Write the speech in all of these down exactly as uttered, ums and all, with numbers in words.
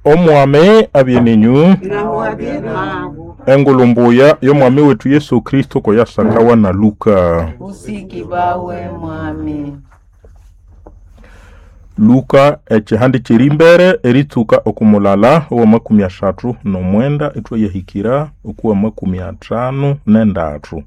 Omwami abye ninyu. Naho abye nawe. Engulu mbuya y'omwami wetu Yesu Kristo koyasakawa na Luka. Usiki bawe mwami. Luka ekihandi kiri mbere eritsuka okumulala owa makumi asathu n'omwenda ithwayahikira okuwa makumi athanu n'endathu.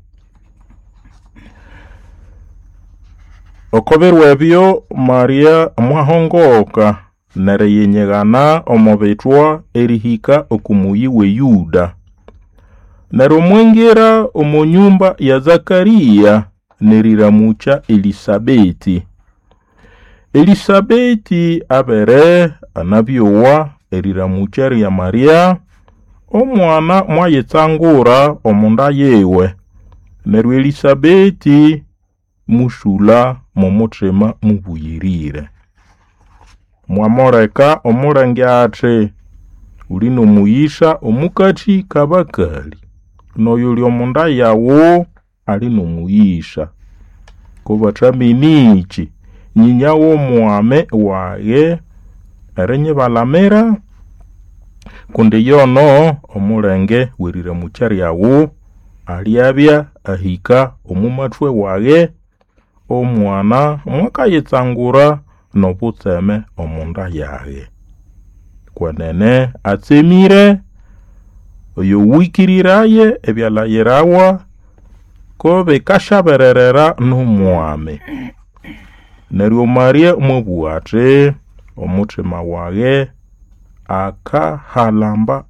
Oko biro ebyo Maria mwahongoka neriyinyigana omo bithwa erihika oku muyi w'e Yuda. Neryo mwingira omo nyumba ya Zakariya neriramukya Elisabeti. Elisabeti abere anabyowa eriramukya lya Maria, omwana mwayitsangura omu nda yiwe. Neryo Elisabeti musulha mw'omuthima mubuyirire. Mwamuleka omulenge athi, Uli n'omuyisa omukati k'abakali, n'oyuli omu nda yawu ali n'omuyisa. Ko bathamine iki, nyinya w'omwami wage erinyibalamira? Kundi yono omulenge w'eriramukya lyawu alyabya ahika omu mathwe wage, omwana mwakayitsangura n'obutseme omu nda yage. Kwenene atsemire oyowikiriraye ebyalayirawa ko bikasyabererera n'omwami. Neryo Maria mwabugha athi, omuthima wage akahalamba